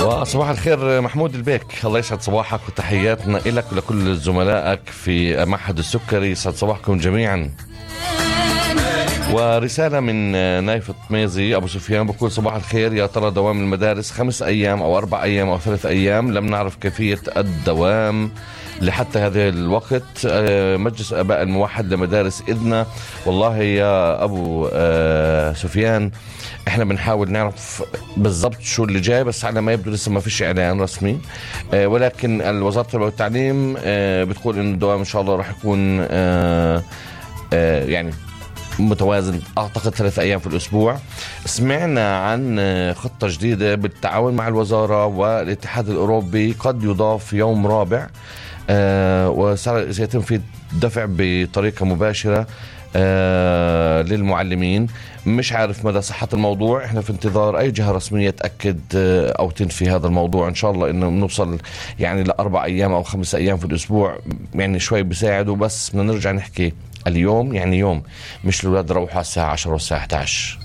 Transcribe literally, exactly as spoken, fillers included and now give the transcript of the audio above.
وصباح الخير محمود البيك، الله يسعد صباحك وتحياتنا إلك ولكل زملائك في معهد السكري. يسعد صباحكم جميعا. ورسالة من نايف الطميزي أبو سفيان بقول صباح الخير، يا ترى دوام المدارس خمس أيام أو أربع أيام أو ثلاث أيام؟ لم نعرف كيفية الدوام لحتى هذا الوقت. مجلس آباء الموحد لمدارس إذنة. والله يا أبو سفيان احنا بنحاول نعرف بالضبط شو اللي جاي، بس على ما يبدو لسه ما فيش اعلان رسمي، ولكن الوزارة التربية والتعليم بتقول ان الدوام ان شاء الله راح يكون يعني متوازن، اعتقد ثلاث ايام في الاسبوع. سمعنا عن خطة جديدة بالتعاون مع الوزارة والاتحاد الاوروبي، قد يضاف يوم رابع وسيتم فيه دفع بطريقة مباشرة آه للمعلمين. مش عارف مدى صحة الموضوع، احنا في انتظار اي جهة رسمية تأكد آه او تنفي هذا الموضوع. ان شاء الله انه نوصل يعني لاربع ايام او خمس ايام في الاسبوع، يعني شوي بيساعدوا. بس بدنا نرجع نحكي اليوم يعني يوم، مش الولاد روحوا الساعة عشرة والساعة احد عشر.